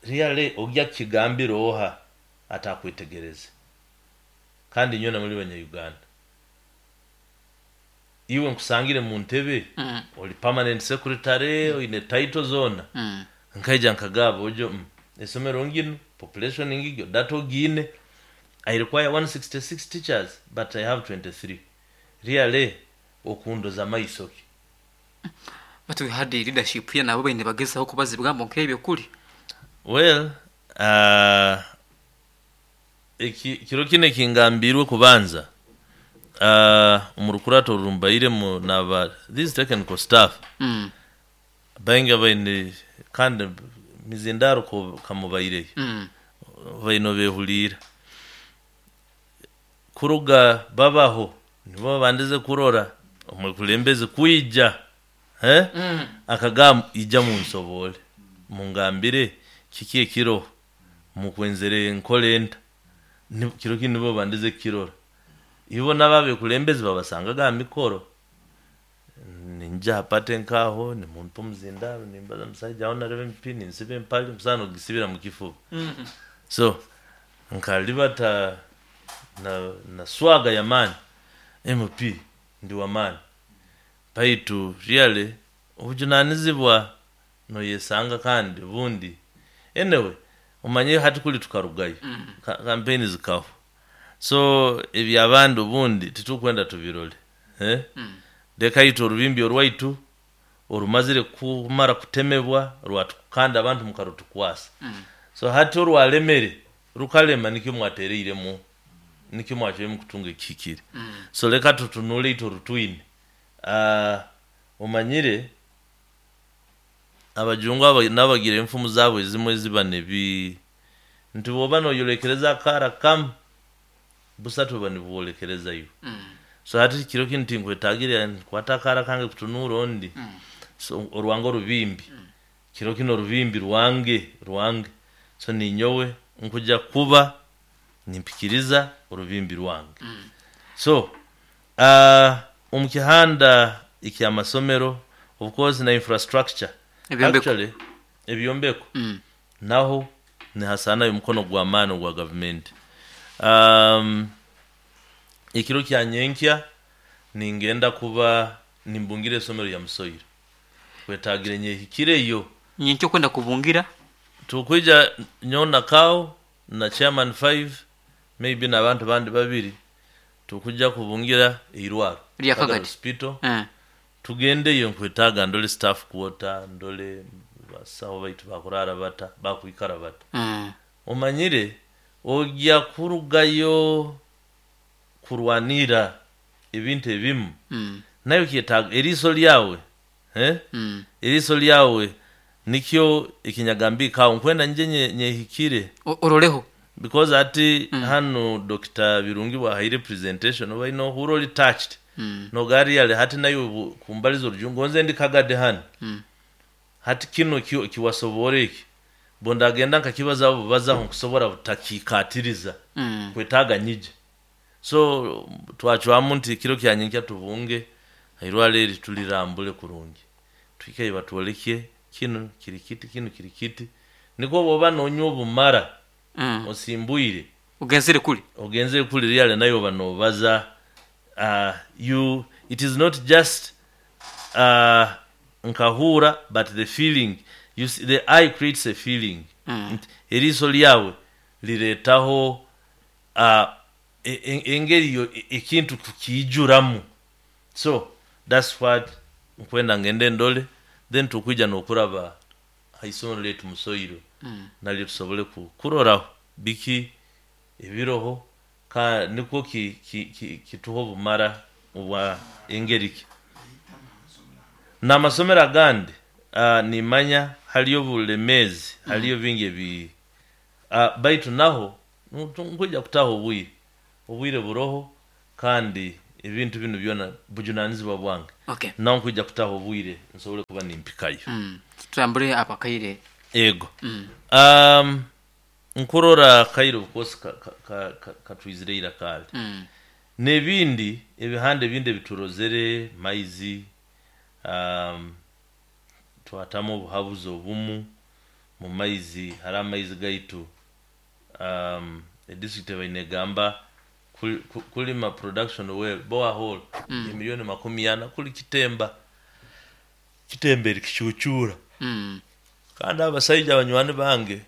really ojja kukigambira oha atakwetegereze? Kandi nyowe muli Banya-Uganda, iwe nkusangire mu ntebe, oli permanent secretary, oine title zona, nkaija nkagaba ojo, esomero nginu, population ngigyo, data ogiine, I require 166 teachers but I have 23. Really okundoza maiso ki? But we had a leadership here, nabo baine bagezaho kubaza ebigambo nk'ebyo kuri. Well, kiro kinu ekingambirwe kubanza, omu rukurato orumbairemu naba this technical staff, baingi baine kandi mizindaro kamubaireyo, baine behuliira kuruga babaho nibo babandize kurora omwekulembezi kwija, eh? Akagamba ija munsobole mungambire kiki ekiro mukwenzere nkole nta. Kiro kinu nibo babandize kukirora, ibo nabo abekulembezi babasangaga aha mikoro, ninjja hapate nkaho nimumpa omuzindaro, nimbaza musaija aho nareba MP, ninsiba empali musaana ogisibira mukifuba. So nkalibata na swaga y'amaani, MP ndi w'amaani, baitu really obujunanizibwa noyesanga. Kandi obundi anyway omanye hati kuli tukarugayo, kampeni zikahwa, so ebyabandi obundi titukwenda tubirole, eh? Leka itwe orubimbi orwaitu orumazire kumara kutemebwa kandi abantu mukarutukwasa. So hati orwalemere rukalema, nikyo mwatereiremu, nikyo mwacwiremu kutunga ekihikire. So leka tutunule itwe orutwine. Omanyire abajungu nabagira enfumu zaabo ezimwe eziba nebi nti bwoba noyolekereza akaara kamu, busatu buba nibwolekereza iwe. So hati kiro kinu tinkwetagire nkwata akaara kange kutunuura ondi. So orwange orubimbi, kiro kinu orubimbi rwange, so ninyowe nkuja kuba nimpikiriza orubimbi rwange. So omu kihanda ekyamasomero, of course, na infrastructure. Ebyombeko. Actually ebyombeko, naho nihasanayo omukono gw'amaani ogwa gavumenti. Ekiro kya nyenkya ningenda kuba nimbungira esomero lya Musoire, kwetagire nyehikireyo. Nyenkya okwenda kubungira? Tukwija nyowe na kawo na chairman 5, maybe n'abantu bandi babiri, tukujja kubungira eirwaro Lya Kagadi Kagadi. Hospital. Tugendeyo, nkwetaaga ndole staff quarter, ndole basawo baitu bakurara bata, bakwikara bata. Omanyire ojja kurugayo kurwanira ebintu ebimu, nayo kyetaaga eriiso lyawe, eh? Eriiso lyawe nikyo ekinyagambikaho, nkwenda nje nyehikire. Oroleho. Because ati hanu Dr. Birungi bwahaire presentation, oba ine ohura oli touched, nogari yale hati nayo kumbaliza orujungu, nze ndi Kagadi hanu. Hati kino kiwasobora eki bondagenda nkakibazaho bubazaho, nkusobora butakikatiriza. Kwetaaga nyije. So twacwamu nti kiro kya nyenkya tubunge irwaro eri, tulirambule kurungi, tuhikeyo batwolekye kinu kiri kiti, kinu kiri kiti, nikwo bwoba nonywa obumara osimbwire. Ogenzere kuli. Ogenzere kuli ryale, nayo oba nobaza, you it is not just nkahura, but the feeling, you see, the eye creates a feeling. Nti eriiso lyawe lireetaho engeri yo ekintu kukiijuramu. So that's what nkwenda ngende ndole, then tukwija n'okuraba haisomero lyaitu Musoiro, nalyo tusobole kuroraho biki ebiroho, ka nikwo kituha obumara obwa engeri ki n'amasomero agandi. Nimanya haliyo obulemeezi, haliyo bingi ebi, baitu naho nkwija kutaho obwire, obwire buroho kandi. Ebintu binu byona bujunanizibwa bwange. Okay. Nawe nkwija kutaho obwire nsobole kuba nimpikayo. Tutambure apakaire. Ego. Nkurora akaire of course katwizire ira kale. N'ebindi ebihanda ebindi ebiturozere maizi, twatamu obuhabuzi obumu mu maizi. Hariho amaizi gaitu, edistrict ebaire negamba kulima production well borehole 40,000,000 kuli kitemba kitemba eri kicucura. Kandi abasaija abanywani bange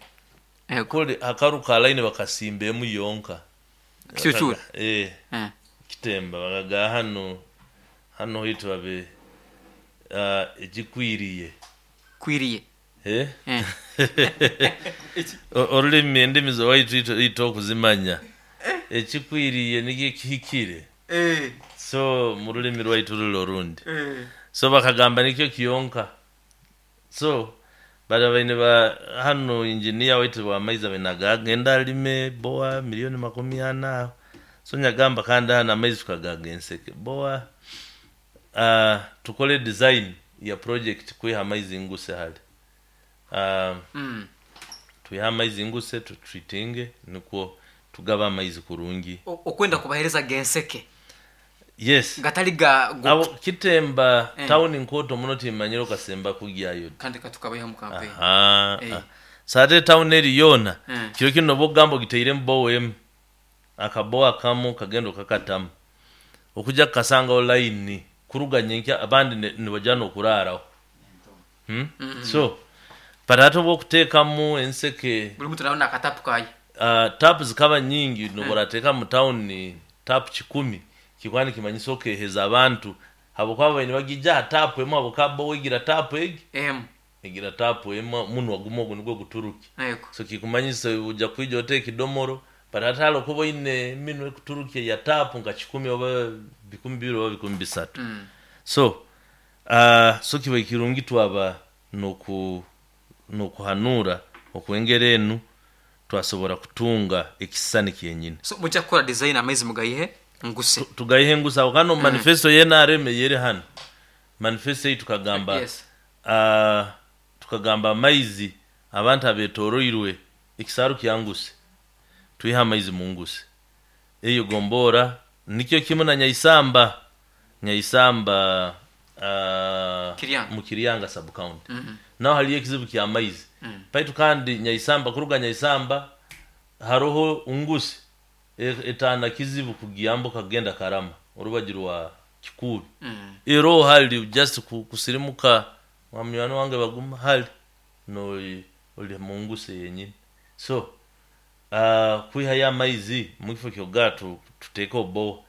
kuli akaru ka line bakasimba emu yonka Kicucura. Kitemba bakaga hano hano hitu babe ekikwiriye. Kwiriye. Orulimi endimi zowaitu itwe okuzimanya ekikwiriye nikyo ekihikire. So mu rulimi rwaitu ruli orundi. So bakagamba nikyo kiyonka. So bari baine ba hano engineer waitu wa maizi abaine agagenda alime boa 40,000,000 aho. So nyagamba kandi hano amaizi tukagaga enseke boa, tukole design ya project kwiha amaizi nguse hali. Twiha amaizi nguse tutreatinge nikwo tugaba amaizi kurungi. Okwenda kubahereza genseke. Yes. Gatali ga abo kitemba town nkoto muno timanyiro kasemba kugyayo. Kandi katukabayo mu campaign. Sate town eri yona. Kiro kino bogambo giteire mbowe emu. Akaboa kamu kagendo kakatamu. Okuja kasanga line kuruga nyenkya abandi nibajana okuraraho. So barato bokutekamu enseke. Buli muntu naona akatapu kayi. Tap zikaba nyingi noborateka mu town tap 10 kikwani kimanyiso okeheza abantu habwokuba baine bagija tap emu abo kabo wigira tap egi. Egira tap emu munwa gumo ogu nigwo guturuki. So kikumanyisa uja kwija oteke kidomoro baratalo kuba ine minwe kuturuki ya tap nka 10 oba 20 oba 23. So so kiba kirungi twaba nokuhanura okwengera enu twasobora kutunga ekisani kyenyine. So mujja kukora design amaizi mugayihe nguse. Tugayihe nguse aho kano manifesto ye NRM yeri hano. Manifesto yitu tukagamba. Yes. Tukagamba amaizi abantu abetoroirwe ekisaru kyanguse. Twiha amaizi munguse. Eyo gombora nikyo kimwe na Nyaisamba. Nyaisamba Kiryanga. Mu Kiryanga sub county. Naho haliyo ekizibu kya maizi. Paitu kandi Nyaisamba kuruga Nyaisamba haroho ungusi etana kizibu kugiyambuka kugenda Karama urubaji rwa Kikubi. Ero hali just kusirimuka mwamywano wange baguma hali no oli munguse yenyini. So kwiha ya maizi mukifo kyogatu tuteka obo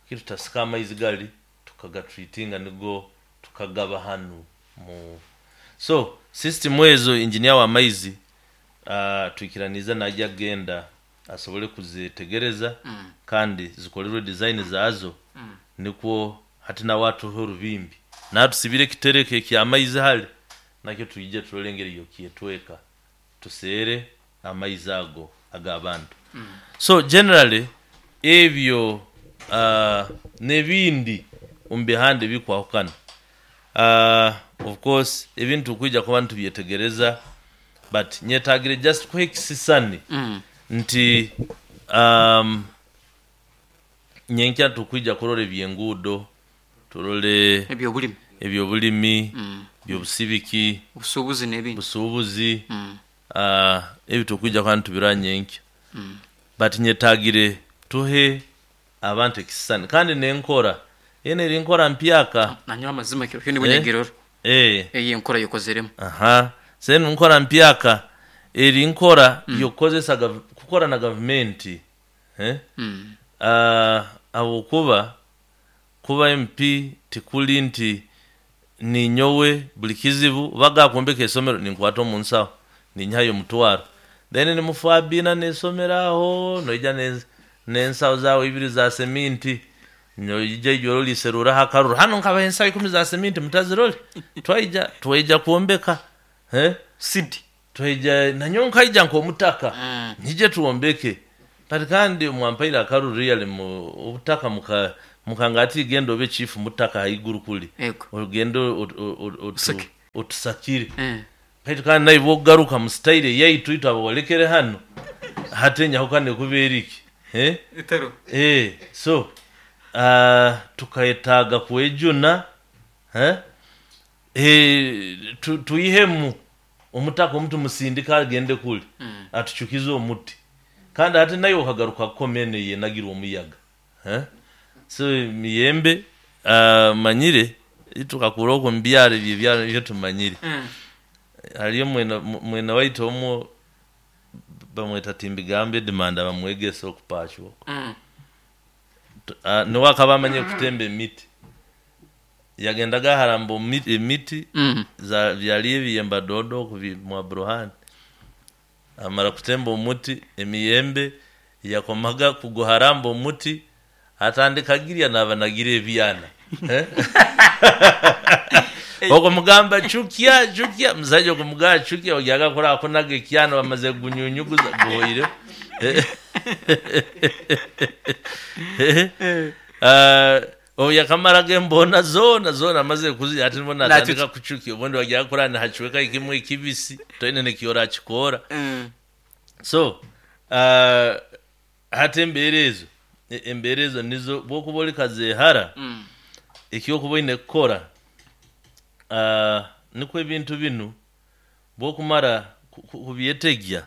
kitu tasika maizi gali tukagatreatinga nigo tukagaba hanu mu. So system ezo engineer wa maizi tuikiraniza najya genda asobole kuzitegereza. Kandi zikolerwe design zazo. Nikwo hati na watu horubimbi na tusibire kitereke kya maizi hali nakyo tuije tulengere yo kietweka tusere amaizi ago agabantu. So generally ebyo nebindi umbihande bikwahukana. Of course ebintu kuija kuba ntubyetegereza but nyetagire just kwekisisani. Nti nyenkya tukuija kurora ebyengudo turole ebyobulimi ebyobulimi byobusibiki obusubuzi n'ebindi busubuzi. Ebyo tukuija kuba ntubira nyenkya. But nyetagire tuhe abantu ekisisani kandi nenkora ene eri nkora mpyaka nanywa amazima kiro kyo nibwo Eyi nkora yokozeremo. Senu nkora mpyaka eri nkora yokozesa kukora na government. Abo kuba MP tikuli nti ninyowe buli kizibu baga kumbeka esomero ninkwata omunsawo ninyayo mutwaro then ni mufabina nesomeraho noija nensawo zawe ibiri za seminti noija ijoro liserura hakaruru hano nkaba ensawo 10 za seminti mutazirole twaija kuombeka Sidi twaija nanyo nkaija nkomutaka nije tuombeke but kandi mwampaira akaruru real mu obutaka muka Mukanga ati genda obe chifu mutaka haiguru kuli. Ego. Ogende Usake. Otusakire. Kaitu kandi naiwe ogaruka mu style yaitu itu ababolekere hano hati nyahukane kubeera iki, eh? Itaro. So tukayetaaga kwejuna, eh? Tuihemu omutaka omutu musindika agende kuli atuchukize omuti kandi ate naye okagaruka kukomene yenagirwa omuyaga, eh? So miyembe manyire itukakura okwo mubyaro ebyo ebyaro ebyo tumanyire. Hariyo mwena waitu omwo bamweta Timbigambe Edimanda bamwegesa okupashwa okwo. Niwe akaba amanyire kutemba emiti, yagendaga aharamba emiti za byali ebiyemba dodo okubi mwa buruhani. Amara kutemba omuti emiyembe yakomaga kuguharamba omuti atandika girya naba nagira ebyana. Eh? Okumugamba chukya chukya, musaija okumugamba chukya ogyaga kura akunaga ekyana bamaze kugunyunyuguza guhoire. Obu yakamaraga embona zona zona amaze kuzi ati mbona atandika kuchukia ubundi wagyaga kura nihachweka ikimwe ikibisi toine nekiora akikora. So hati embeera ezo embeera ezo nizo bwokuba ori kazehara ekyokuba oine kukora nikwo ebintu binu bwokumara kubyetegya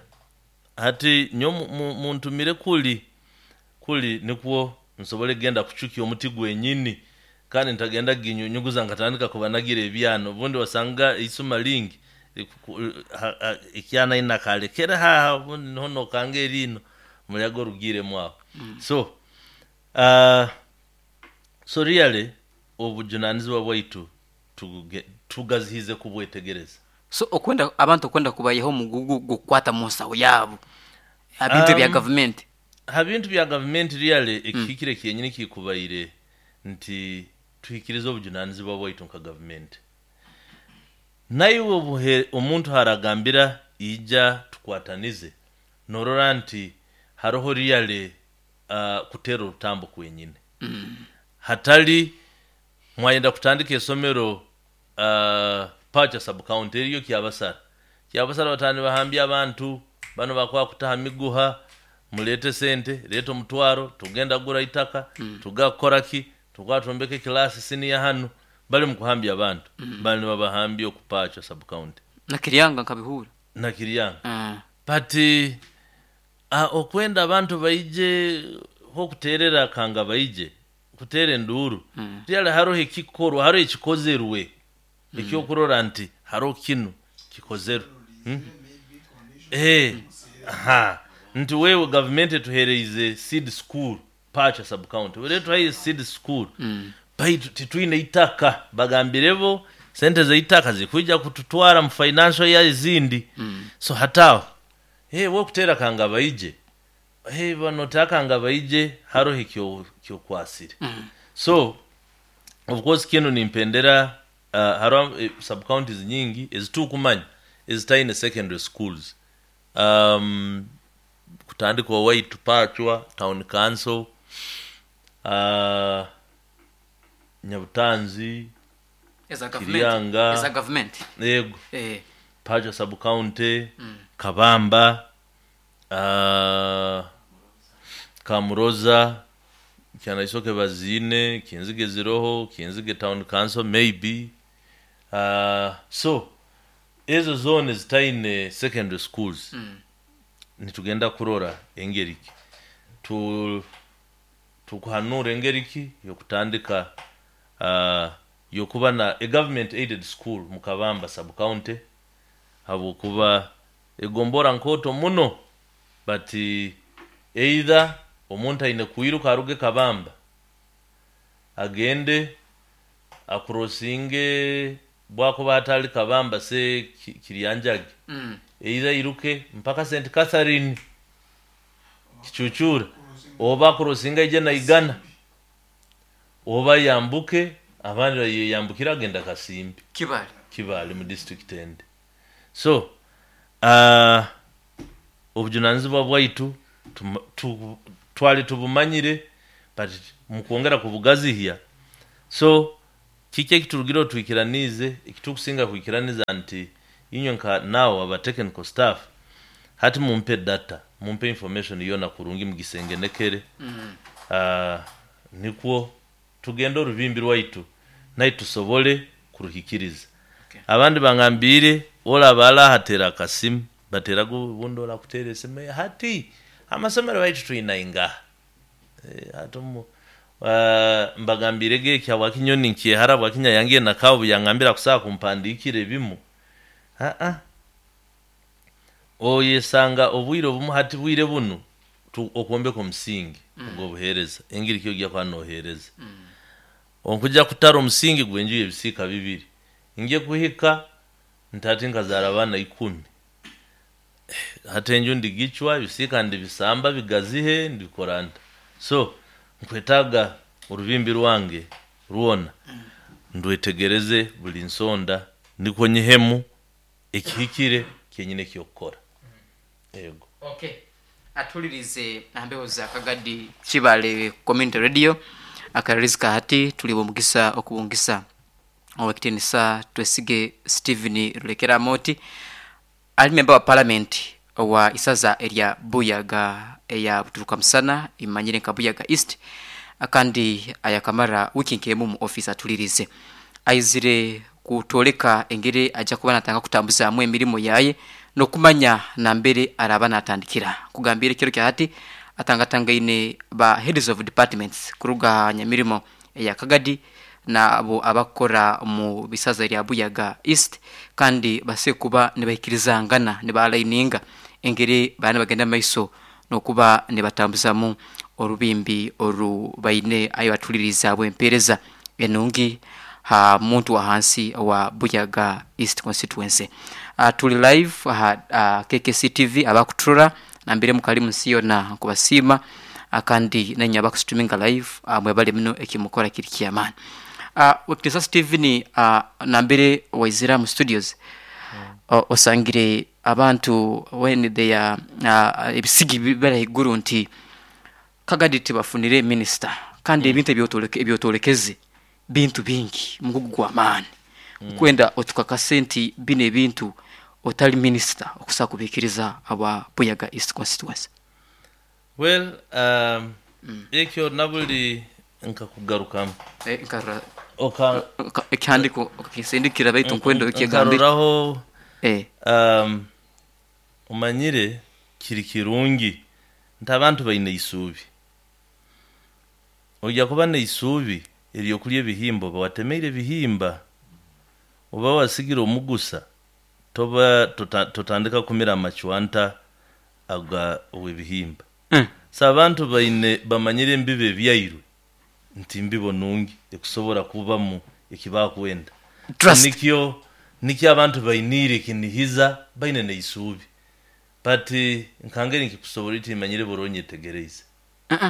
hati nyo muntumire kuli kuli nikwo nsobole kugenda kuchukia omuti gwenyini kandi ntagenda kuginyunyuguza nkatandika kubanagira ebyana obundi wasanga isuma lingi ekyana ina kalekera haha obundi niho nokanga erino muyaga orugiremu aho. So so really obujunanizibwa bwaitu tugazihize kubwetegereza. So okwenda abantu okwenda kubayeho omugugu gukwata mu nsaho yaabo ha bintu bya gavumenti. Ha bintu bya gavumenti really ekihikire kyenyini kikubaire nti tuhikirize obujunanizibwa bwaitu nka gavumenti. Naiwe obuhe omuntu haragambira ija tukwatanize norora nti haroho really kutera orutambo kwenyini. Hatali mwayenda kutandika esomero Pacha sub county eriyo Kyabasara. Kyabasara batani bahambya abantu bano bakwa kutaha miguha mulete sente leta omutwaro tugenda gura itaka tugakora ki tukatombeka ekilasi siniya hanu bali mukuhambya abantu bali nibabahambya okupacha sub county. Nakiryanga nkabihura. Nakiryanga. But okwenda abantu baije hokuterera kanga baije kutera enduru really haroho ekikorwa haroho ekikozerwe ekyokurora nti haroho kinu kikozerwe. Aha nti wewe gavumenti etuhereize seed school Pacha sub county were tuhaire seed school baitu titwine itaka bagambirebo sente zeitaka zikwija kututwara mu financial year ezindi. So hataho we kutera kanga baije bano takanga baije haroho ekyo kyokwasire. So of course kinu nimpendera haroho sub counties nyingi ezitukumanya ezitaine secondary schools kutandika owaitu Pachwa town council Nyabutanzi eza Kiryanga. Eza gavumenti. Yego. Pachwa sub county Kabamba Kamuroza Kyanaisoke bazine Kinzige ziroho Kinzige town council maybe so ezo zone zitaine secondary schools. Nitugenda kurora engeriki tukuhanura engeriki yokutandika yokuba na a government aided school mu Kabamba sub county habwokuba egombora nkoto muno but either omuntu aine kwiruka aruge Kabamba agende akurosinge bwakuba atali Kabamba se Kiryanjage either iruke mpaka St Catherine Kichuchura oba kurosinga ije na Igana oba yambuke abandi yambukira agenda Kasimbi Kibale Kibale mu district end. So obujunanizibwa bwaitu twali tubumanyire but Mukwongera kubugazihya. So kiki ekiturugire twikiranize, ekitukusinga kwikiraniza nti inywe nka now aba technical staff, hati mumpe data, mumpe information yona kurungi mugisengenekere. Nikwo tugende orubimbi rwaitu naye tusobole kuruhikiriza. Okay. Abandi bangambire olaba alahatera akasimu, bateraga obundi orakutera esimu, hati amasomero baitu twina ingaha. Hati mbagambire geki habwakinyoni nkyehara, bwakinya yange nakabu yangambira kusaa kumpandikira ebimu. Oyesanga obwire obumu hati bwire bunu okwombeka omusingi ogw'obuheereza, engeri kyo ojja kuba noheereza. Onkujja kutara omusingi gw'enju y'ebisiika 2, nje kuhika ntati nkazaara abaana 10, hati enju ndigicwa, ebisiika ndibisamba bigazihe, ndikora nta? So nkwetaaga orubimbi rwange rwona ndwetegereze buli nsonda, nikwo nyihemu ekihikire kyenyine eky'okukora. Yego. Okay. Atulirize ambeho za Kagadi Kibale Community Radio akaririzi hati tuli bomugisa okubungisa owekitinisa Twesige Stephen Rulekera Moti, ali member wa parliament owa isaza erya Buyaga eya Buturuka Musana, imanyire nka Buyaga East, akandi ayakamara wiki nkemu mu office. Atulirize aizire kutoleka engeri ajja kuba natanga kutambuzamu emirimu yaye n'okumanya nambere araba natandikira. Kugambira ekiro kya hati atangatangaine ba heads of departments kuruga nyamirimo eya Kagadi nabo abakora mu bisaza lya Buyaga East, kandi base kuba nibaikirizangana nibalaininga engeri bana bagenda maiso n'okuba nibatambuzamu orubimbi oru baine ayi batuliriza bwempereza enungi ha muntu wa hansi wa Buyaga East constituency. Tuli live ha KKC TV, abakuturora nambere mukali munsi yona nkubasiima, kandi nanya abakustuminga live, mwebale muno, ekimukora kiri kyamaani. Wekitisa Stephen, nambere waizira mu studios, osangire abantu when they are ebisigi bibara iguru nti Kagadi tibafunire minister, kandi ebintu ebyotolekeze bintu bingi, mugugu gw'amaani. Kwenda otukakase nti bino ebintu otali minister okusa kubikiriza aba Buyaga East constituency. Well, ekyo nabuli nkakugarukamu. Nkarora Oka ekihandiko okakinsindikira, baitu nkwenda okyegambire. Nkaroraho. Omanyire kiri kirungi nti abantu baine isuubi. Ojja kuba n'eisuubi eryokulya ebihimba oba watemeire ebihimba, oba wasigire omugusa, toba totandika kumira amacwanta aga ow'ebihimba. So abantu baine bamanyire embibo ebyairwe nti mbibo nungi ekusobora kubamu ekibakwenda. Trust. Nikyo abantu bainiire ekinihiza, baine n'eisuubi. But nkangeri nkikusobora iti manyire buri onyetegereize.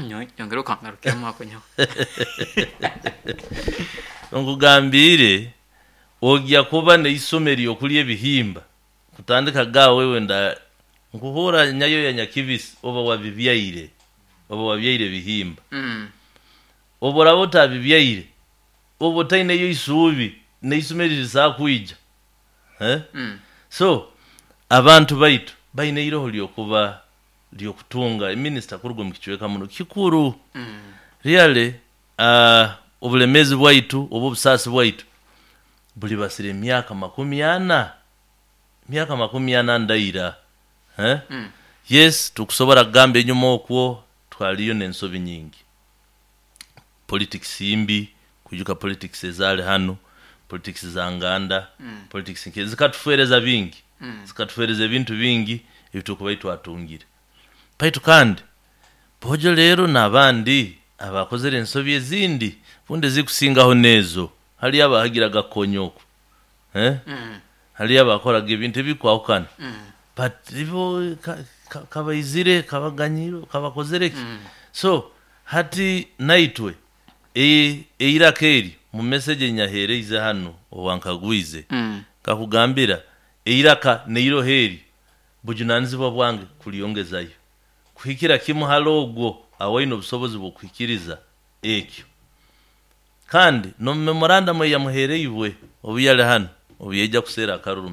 Nyongera okangarukiramu ako nyawe. Nkugambire ojja kuba n'eisoma eryokulya ebihimba kutandika ga wewe nda nkuhura nyayo ya nyakibisi, oba wabibyaire, oba wabyaire ebihimba. Oba oraba otabibyaire, oba otaineyo isuubi n'eisoma eririsaa kwija, eh? So abantu baitu baine iroho lyokuba lyokutunga eminisita kuruga omu kicweka muno kikuru. Really, obulemezi bwaitu oba obusaasi bwaitu buli basire emyaka 40, emyaka 40 ndaira, eh? Yes, tukusobora kugamba enyuma okwo twaliyo n'ensobi nyingi, politics mbi, kwijuka politics ezaali hano, politics za nganda, politics zikatufereza bingi, zikatufereza ebintu bingi ebitukubaire twatungire. Baitu kandi bojo rero n'abandi abakozere ensobi ezindi bundi ezikusingaho n'ezo, haliyo abahagiraga konyoko, eh? Haliyo abakoraga ebintu ebikwahukana, but ibo kabaizire kabaganyiro kabakozere ki. So hati naitwe eiraka eri mu message enyaheereize hano owankagwize, kakugambira eiraka neiroho eri bujunanizibwa bwange kulyongezayo kuhikira kimu hali ogwo awaine obusobozi bw'okuhikiriza. Ekyo kandi n'omu memorandum eyamuhereibwe obu yali hanu, obu yaija kuseera akaruru.